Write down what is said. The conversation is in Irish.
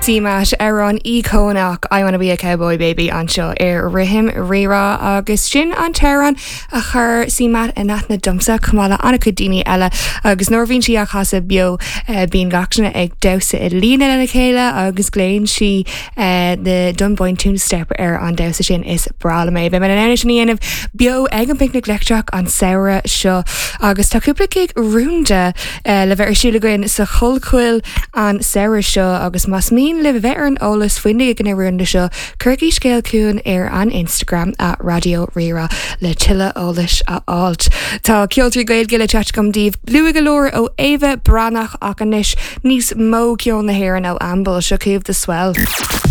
CMAT, amhrán íocónach I Wanna Be a Cowboy Baby anseo ar Rithim Rírá agus sin an t-amhrán a chuir CMAT in aithne domsa chomh maith le an-chuid daoine eile agus nuair a bhíonn sí á chasadh beo bíonn gach duine ag damhsa i líne lena chéile agus glaonn sí the Dunboyne Step ar an damhsa sin is breá liom é. Beidh mé in ann é sin a dhéanamh beo ag an bPicnic Leictreach an samhradh seo agus tá cúpla gig rúnda le bheith ar siúl againn sa Chollchoill an samhradh seo agus más mian libh a bheith ar an eolas faoi na gigeanna rúnda seo, cuirigí scéal chugainn ar an Instagram at Raidió Rí-Rá le tuilleadh eolais a fháilt. Tá ceoltóirí Gaeilge le teacht agam daoibh luath go leor ó Éabha Breathnach ach anois níos mó ceol na hÉireann ó Ambel, seo chugaibh The Swell.